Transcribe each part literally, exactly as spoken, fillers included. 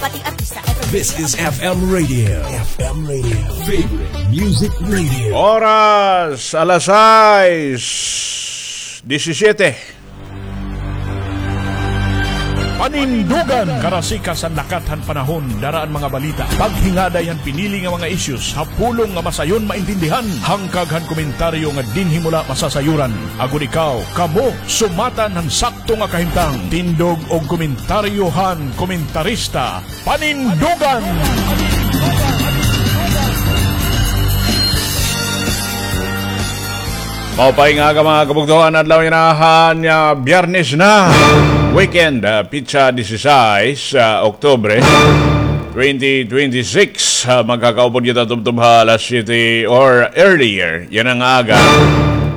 Pati artista, F M This Radio is F M Radio. F M Radio. Favorite Music Radio. Oras, alas sais disisiyete. Panindugan! Karasikas han lakat han panahon, dara an mga balita. Paghingaday han pinili nga mga issues ha pulong nga masayon maintindihan. Hangkag han komentaryo nga dinhi mo la masasayuran. Agod ikaw, kamo, sumatan han sakto nga kahimtang. Tindog og komentaryo han komentarista. Panindugan! Maupay nga aga, mga kabugtoan, adlaw yana han, ah, Biyernes na, weekend, ah, pitsa disisais, ah, Oktubre, twenty twenty-six. Ah, magkakaupod kita tubtob ha alas siyete or earlier yana nga aga.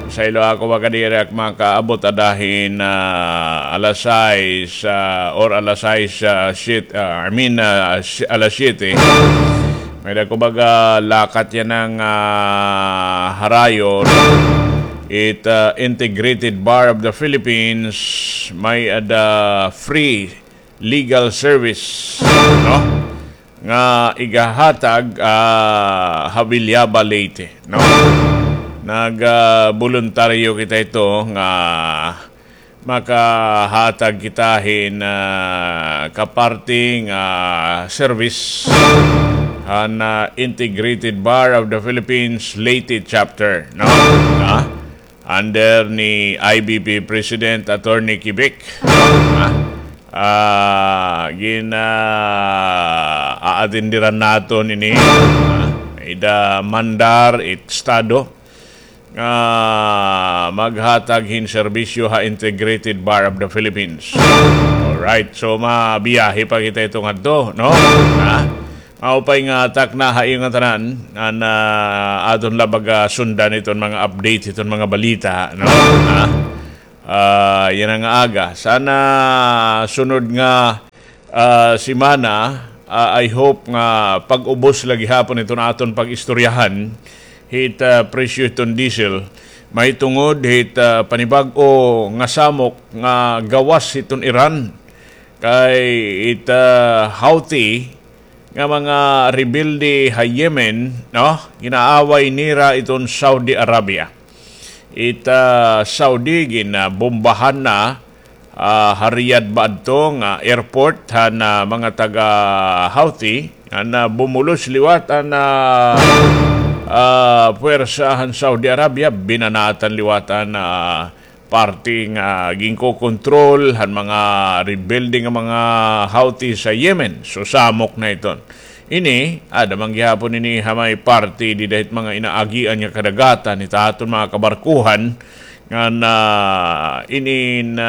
Saylo ako makadiri ak makaabot ada hin, ah, alas sais, ah, or alas sais, ah, shit, ah, I mean, ah, si-, alas siyete. May-ada ko baga lakat yana nga, ah, harayo. It, ah, Integrated Bar of the Philippines, may-ada free legal service, no? Nga igahatag, ah, ha Villaba, Leyte, no? Nag, ah, boluntaryo kita ito nga makahatag kita hin, ah, kaparti nga service han, ah, Integrated Bar of the Philippines Leyte Chapter, no? Ah, under ni I B P President Attorney Kibic. Ah, ah, gin, ah, aatenderan naton ini. Ah, ida mandar it estado nga maghatag hin serbisyo ha Integrated Bar of the Philippines. Alright, so mabiyahe pa kita ito ngadto, no? Ha? Maupay nga takna ha iyo ngatanan, an, ah, aton la baga sundan iton mga update, iton mga balita, no? Ha? Ah, yana nga aga. Sana sunod nga, ah, semana, ah, I hope nga pag-ubos la gihapon iton aton pag-istoryahan hit, ah, presyo hiton diesel. Mahitungod hit, ah, panibag-o nga samok nga gawas hiton Iran. Kay it, ah, Houthi nga mga rebelde ha Yemen, no? Ginaaway nira iton Saudi Arabia. It, ah, Saudi, ginabombahan na, ah, ha Riyadh ba adto nga airport han, ah, mga taga Houthi, nga, ah, bumulos liwat an, ah, ah, puwersa han Saudi Arabia, binanatan liwat an, ah, parte nga ginkokontrol han mga rebelde nga mga Houthi sa Yemen. So, samok na iton. Ini, ada man gihapon ini ha may parte dida hit mga inaagian nga kadagatan hit aton mga kabarkuhan nga na ini na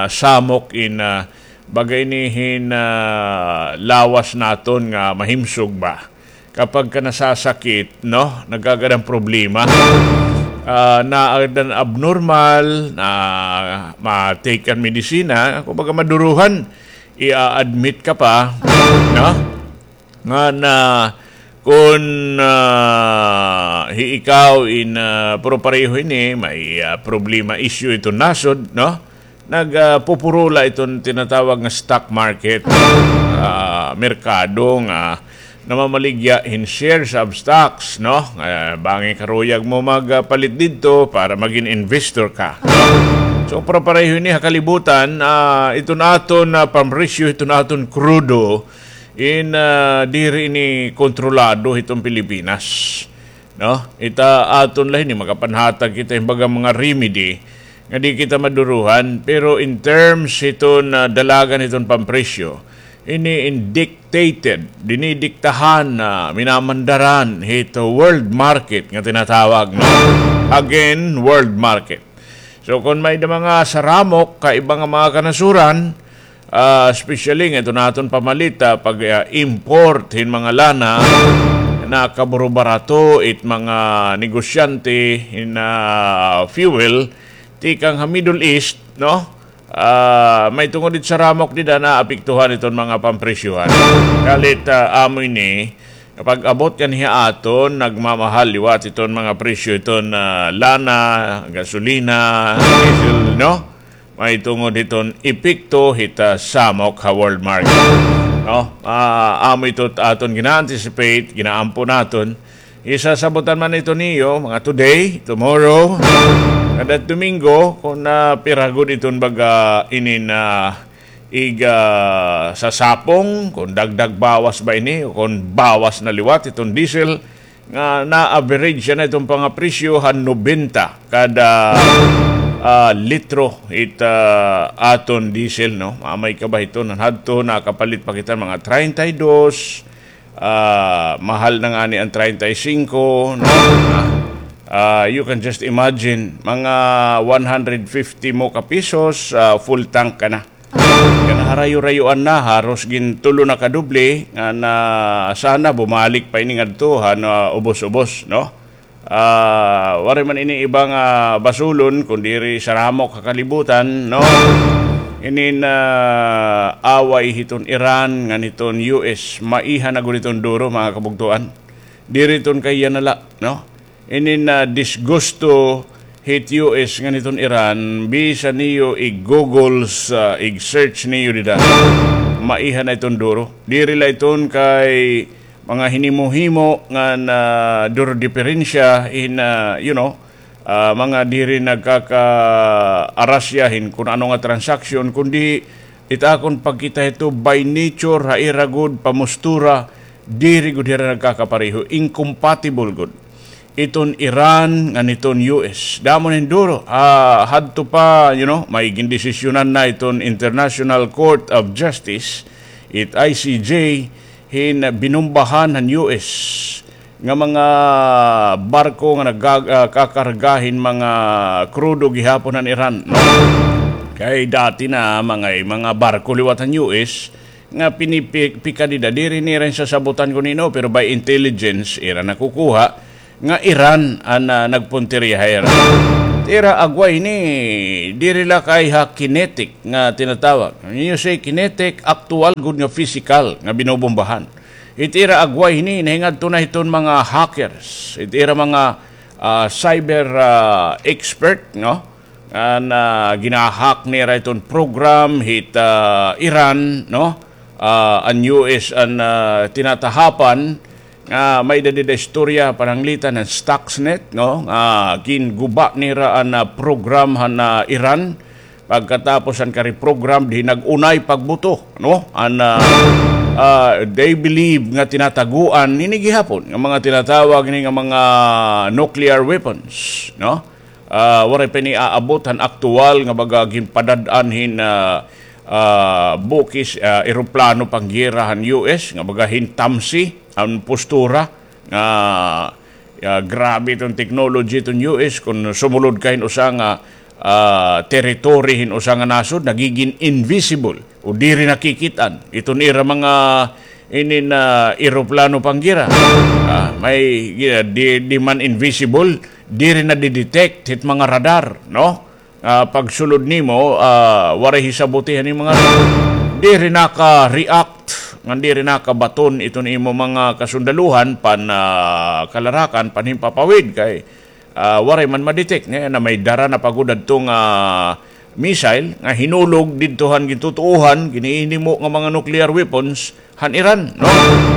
samok in, ah, baga ini hin, ah, lawas naton nga mahimsog ba. Kapag ka nasasakit, no, nagkakaroon problema. Ah, naadan abnormal, na ma-take an medisina, kumbaga maduruhan, i-admit ka pa, no? Nga na, kun, ah, hi ikaw in, ah, pero pareho ini, may, ah, problema, issue ito nasod, no? Nag, ah, pupurula iton tinatawag nga stock market, ah, merkado nga namamaligya hin shares of stocks, no? Ah, bangin karuyag mo magpalit didto para magin investor ka, no? So, pero pareho ini ha kalibutan, ah, iton aton, ah, pampresyo, iton aton krudo, in, ah, diri ini kontrolado hiton Pilipinas. No? Ita aton la hini, makapanhatag kita hin baga mga remedy nga di kita maduruhan, pero in terms hiton, ah, dalagan hiton pampresyo, ini in dictated, dinidiktahan, ah, minamandaran hito world market nga tinatawag, no? Again, world market. So, kon may da mga saramok, kaiba nga mga kanasuran, ah, especially nga ito naton pamalit, ah, pag, ah, import hin mga lana, nakaburubarato it mga negosyante hin, ah, fuel tikang ha Middle East, no? Ah, may tungod it saramok dida naapektuhan iton mga pampresyohan. Kalit, ah, amo ini, pag-abot kan ha aton, nagmamahal liwat iton mga presyo iton, ah, lana, gasolina, diesel, no? Mahitungod hiton epekto hit, ah, samok ha world market. No? Ah, amo ito aton gina-anticipate, ginaampo naton. Isasabutan man ito niyo, mga today, tomorrow, kada Domingo, kung, ah, pira gud iton baga inin, ah, ig, ah, sasapong, kung dagdag bawas ba ini, o kung bawas na liwat iton diesel, nga na-average na iton pangapresyo han nobenta kada, ah, litro it, ah, aton diesel, no? Mamay ka ba ito, nan hadto, nakapalit pa kita mga treinta y dos, ah, mahal na ngani an treinta y cinco, no? Ah, ah, you can just imagine, mga one hundred fifty mo ka pesos, ah, full tank ka na. Kanaharayo-rayoan na, haros gintulo na ka doble, nga na sana bumalik pa ini ngadto han ubos-ubos, no? Ah, waray man ini iba nga basulon, kun diri saramok ha kalibutan, no? Inin away hiton Iran ngan hiton U S, maiha na gud iton duro, mga kabugtoan. Diri iton kay yana la, no? Inin disgusto hit U S ngan hiton Iran, bisan niyo ig-Google sa, ig-search niyo dida, maiha na iton duro. Diri la iton kay mga hinimo-himo ngan duro diperensya hin, ah, you know, ah, mga diri nagkakaarasya hin kun ano nga transaksyon, kundi it akon pagkita hito by nature, ha ira gud pamustura, diri gud hira nagkakapareho, incompatible gud. Iton Iran ngan iton U S. Damo na hin duro. Ah, hadto pa, you know, may gindesisyonan na iton International Court of Justice, it I C J, hin binombahan han U S nga mga barko nga nagga-, ah, kakarga hin mga krudo gihapon han Iran, no? Kay dati na mga, mga barko liwat han U S nga pinipika dida, diri nira sasabutan kun hin-o, pero by intelligence, ira nakukuha nga Iran an, ah, nagpuntirya ha ira. Ira agway hini, diri la kay ha kinetic nga tinatawag. When you say kinetic, aktuwal gud nga pisikal nga binobombahan. It ira agway hini, nahingadto na hiton mga hackers. It ira mga, ah, cyber, ah, expert, no? An, ah, gina-hack nira iton program hit, ah, Iran, no? Ah, an U S an, ah, tinatahapan, nga may-ada dida istorya pananglitan han Stuxnet, no? Nga ginguba nira an, ah, program han, ah, Iran. Pagkatapos an ka-reprogram, di nag-unay pagbuto, no? An, ah, ah, they believe nga tinataguan hini gihapon nga mga tinatawag hini nga mga nuclear weapons, no? Ah, waray pa ini aabot han aktuwal nga baga ginpadad-an hin, ah, ah, bukis, ah, eroplano panggera han U S, nga baga hin tamsi an postura, nga, ah, grabe iton technology iton U S, kun sumulod ka hin usa nga, ah, territory hin usa nga nasod, nagigin invisible o diri nakikit-an iton ira mga inin, ah, eroplano panggera. Ah, may, ah, di, di man invisible, diri nadidetect hit mga radar, no? Ah, pagsulod nimo, ah, waray hisaboti han mga radar. Diri naka-react, ngan diri nakabaton iton imo mga kasundaluhan pan, ah, kalarakan, panhimpapawid kay, ah, waray man ma-detect. Niyan na may dara na pa gud adto nga missile nga hinulog didto han gintutoohan, ginhihimo nga mga nuclear weapons han Iran, no?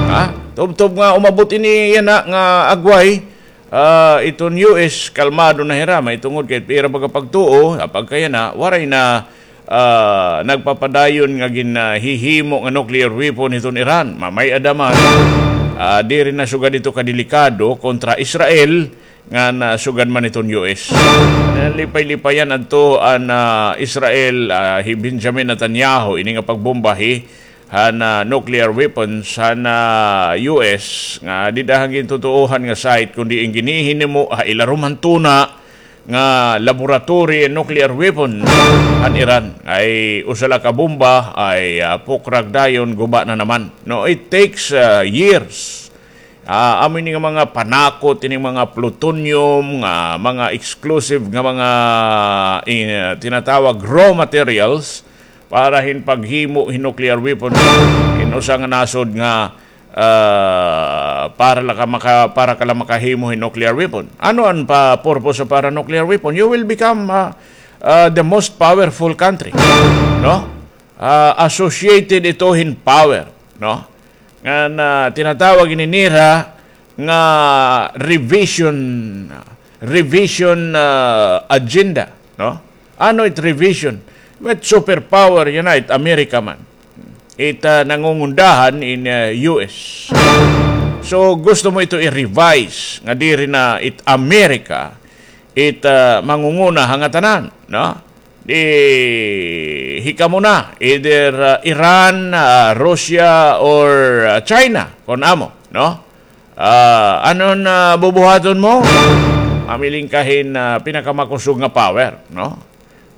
Ha? Tubtob nga umabot ini yana nga agway, ah, iton U S, kalmado na hira, mahitungod kay ira baga pagtuo, ha pagkayana, waray na, ah, nagpapadayon nga ginhihimo nga nuclear weapon hiton Iran. Mamay-ada man, ah, diri na sugad ito kadelikado kontra Israel, ngan sugad man iton U S. Nalipay-lipayan adto an, ah, Israel, ah, hi Benjamin Netanyahu, ini nga pagbombahi han, ah, nuclear weapons han, ah, U S, nga dida han gintutoohan nga site, kundi an ginhihinimo ha ilarom han tuna nga laboratory nuclear weapon han Iran. Ay usa la ka bomba, ay, ah, pukrag dayon, guba na naman. No, it takes, ah, years. Ah, amo ini nga mga panakot, ini mga plutonium, nga mga explosive nga mga, eh, tinatawag raw materials para hin paghimo hin nuclear weapon. Hin usa nga nasod nga, ah, para la ka maka-, para ka la makahimo hin nuclear weapon. Ano an pa-, purpose sa para nuclear weapon? You will become, ah, ah, the most powerful country. No? Ah, associated ito hin power. no? Ngan tinatawag ini nira nga revision, revision, ah, agenda, no? Ano it revision? With superpower yana, it America man. It, ah, nangungundahan in, ah, U S. So, gusto mo ito i-revise nga diri na it America, it, ah, mangunguna ha ngatanan, no? Di hikamo na, either, ah, Iran, ah, Russia, or, ah, China, kon amo, no? Ah, ano an bubuhaton mo? Mamiling ka hin, ah, pinakamakusog nga power, no?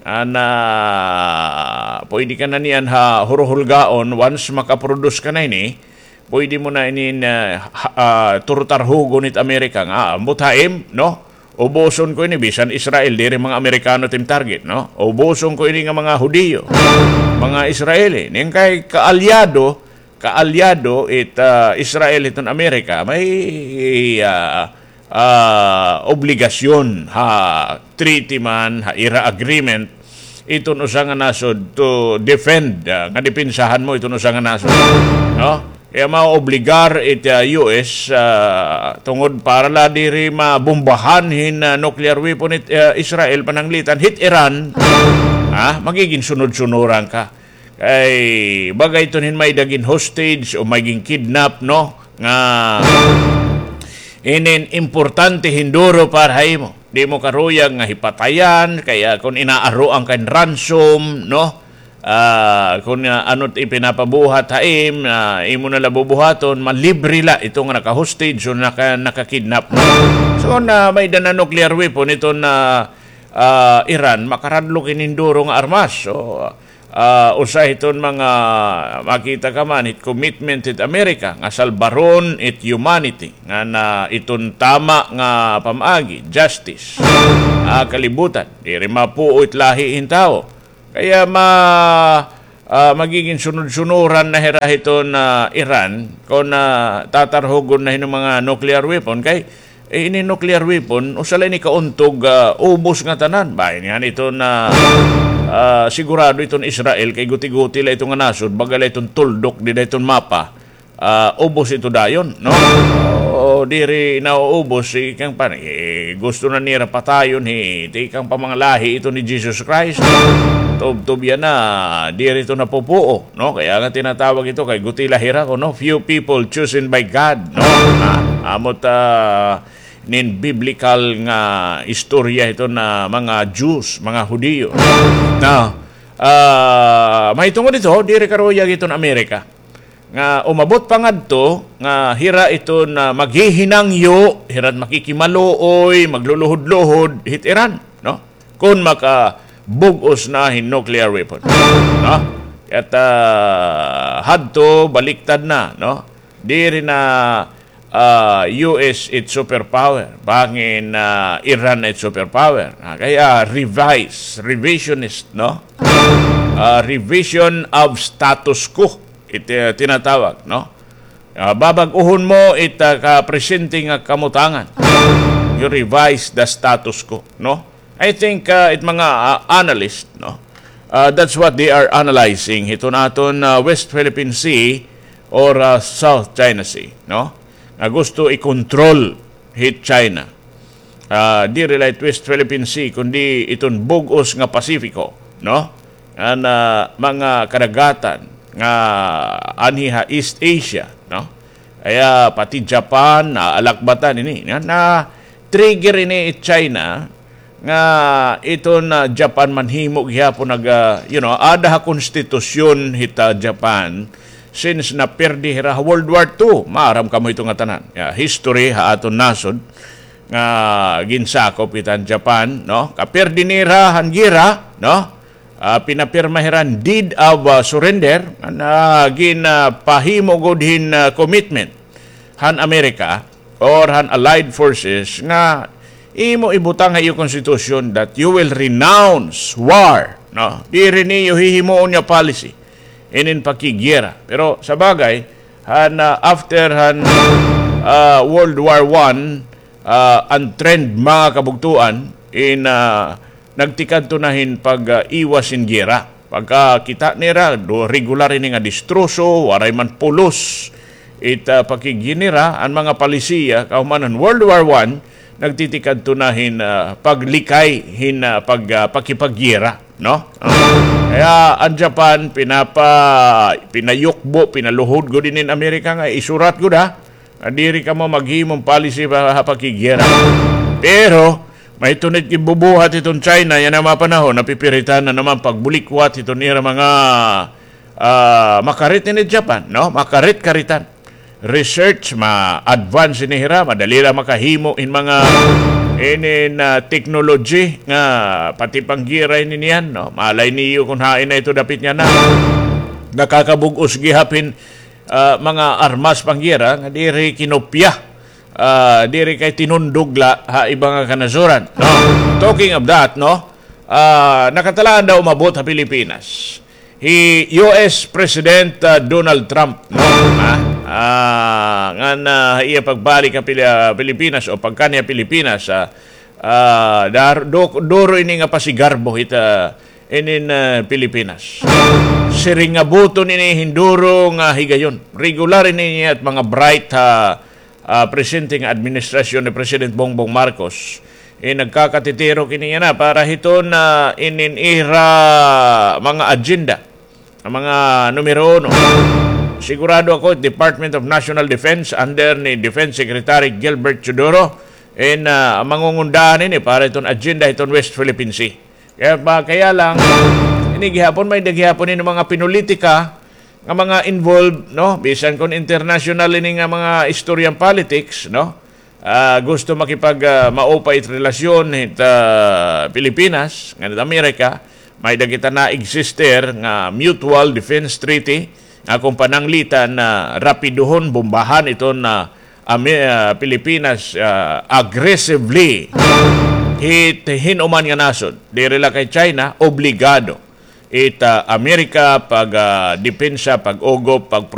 An, ah, pwede ka na niyan ha huruhulgaon, once makaproduce ka na ini, pwede mo na ini, ah, ha-, ah, turutarhugon it Amerika nga, ah, ambot ha im, no? Ubuson ko ini, bisan Israel, diri mga Amerikano it im target, no? Ubuson ko ini nga mga Hudiyo, mga Israeli. Ning kay kaalyado, kaalyado it, ah, Israel hiton Amerika, may, ah, ah, obligasyon ha treaty man, ha ira agreement, iton usa nga nasod to defend, ah, nga depensahan mo iton usa nga nasod. No? Kaya maobligar it, ah, U S, ah, tungod para la diri mabombahan hin, ah, nuclear weapon it, ah, Israel, pananglitan hit Iran, ha? Magigin sunod-sunuran ka. Kay baga iton hin may-ada gin hostage o may gin-kidnap, no? Nga inin importante hin duro para ha imo. Di mo karuyag nga hipatayan, kaya kon inaaroan ka hin ransom, no? Ah, kon, ah, ano't ipinapabuhat ha im, ah, imo na la bubuhaton, malibre la ito nga naka-hostage o naka-, naka-kidnap, no? So, na may-ada na nuclear weapon iton, ah, Iran, makaradlok ini hin duro nga armas. So, ah, usa hiton mga makita ka man hit commitment hit Amerika nga salbaron it humanity, ngan iton tama nga pamaagi, justice, ha kalibutan. Diri mapuo it lahi hin tawo. Kaya ma-, ah, magigin sunod-sunuran na hira hiton, ah, Iran kon, ah, tatarhugon na hin mga nuclear weapon kay Eh, ini nuclear weapon, usa la ini kauntog, ah, ubos nga tanan. Bahin nga iton, ah, sigurado iton Israel, kay guti-guti la ito nga nasod, baga la iton tuldok dida iton mapa. Ah, ubos ito dayon, no? O, diri na uubos, ikang pan-, eh, gusto na nira patayon, hi, tikang pa mga lahi ito ni Jesus Christ. Tubtob yana, diri ito napupuo. No, kaya nga tinatawag ito kay guti la hira kuno, few people chosen by God, no? Ah, amo ta nin biblical nga istorya ito na mga Jews, mga Hudiyo. Na, ah, mahitungod ito, diri karuyag iton Amerika. Nga umabot pa ngadto nga hira iton maghihinangyo, hira't makikimaluoy, magluluhod-luhod hit Iran, no? Kon makabug-os na hin nuclear weapon, no? Ket, ah, hadto baliktad na, no? Diri na, ah, U S it superpower, bangin, ah, Iran it superpower. Ah, kaya revise, revisionist, no? Ah, revision of status quo it, ah, tinatawag, no? Ah, babag-ohon mo it, ah, kapresente nga kamutangan. You revise the status quo, no? I think, ah, it mga, ah, analyst, no? Ah, that's what they are analyzing hiton aton, ah, West Philippine Sea or, ah, South China Sea, no? Nga gusto i-control hit China. Ah, diri la it West Philippine Sea, kundi iton bug-os nga Pasifiko, no? An, ah, mga kadagatan nga anhi ha East Asia, no? Kaya pati Japan, naalakbatan ini. Na, na-trigger ini it China nga iton Japan manhimo gihapon nag, ah, you know, aada ha konstitusyon hit, ah, Japan since napirdi hira ha World War Two. Maaram kamo ito nga tanan. Ya, history ha aton nasod nga ginsakop kita han Japan, no? Kapirdi nira han gera, no? Ah, pinapirma hira han deed of, ah, surrender, nga ginpahimo gud hin, ah, commitment han Amerika or han allied forces nga imo ibutang ha iyo constitution that you will renounce war, no? Diri niyo hihimuon nga policy inin pakigera. Pero sa bagay, han, ah, after han, ah, World War One, ah, an trend, mga kabugtoan, in, ah, nagtikadto na hin pag, ah, iwas hin gera. Pagkakita nira, do regular ini nga distroso, waray man pulos. It, ah, pakighinira, an mga palisiya, kahuman han World War One, nagtitikadto na hin, ah, paglikay, hin, ah, pag, ah, pakipaggera, no? Ah, kaya an Japan, pinapa-, pinayukbo, pinaluhod gud inin Amerika nga isurat gud, ha? Nga diri kamo maghimong policy pa, ha, pakiggera. Pero, may tunit gibubuhat iton China, yana nga mga panahon, napipiritan na naman pagbulikwat iton ira mga, ah, makarit ini Japan, no? Makarit-karitan. Research, ma-advance ini hira, madali la makahimo in mga inin, ah, technology nga pati panggira ini niyan, no? Malay niyo kung hain na ito dapit niyan na. Nakakabug-os gihap hin ah, mga armas panggira nga diri kinopya, ah, diri kay tinundog la ha iba nga kanasuran, no? Talking of that, no? Ah, nakatalaan daw umabot ha Pilipinas hi U S President, ah, Donald Trump, no? Ha? Ah, ngan, ah, ha iya pagbalik ha Pili-, ah, Pilipinas o pagkanhi ha Pilipinas, ah, ah, dar-, du-, duro ini nga pasigarbo hit, ah, inin, ah, Pilipinas. Siring nga buton ini hin duro nga higayon. Regular ini niya it mga bright ha, ah, presente nga administrasyon ni President Bongbong Marcos. Eh, nagkakatitirok ini yana para hiton, ah, inin ira mga agenda. An mga numero uno. Sigurado ako, Department of National Defense under ni Defense Secretary Gilbert Teodoro, in, ah, mangungundahan ini para iton agenda hiton West Philippine Sea. Kaya ba, kaya lang, ini gihapon, may-ada gihapon ini mga pinulitika nga mga involved, no? Bisan kon international ini nga mga istorya han politics, no? Ah, gusto makipag, ah, maupay it relasyon hit, ah, Pilipinas ngan hit Amerika, may-ada kita na-exister nga Mutual Defense Treaty nga kon pananglitan na rapiduhon, bombahan iton, ah, Ami-, ah, Pilipinas, ah, aggressively hit hin-o man nga nasod. Diri la kay China, obligado it, ah, Amerika pag, ah, depensa, pag-ugop, pag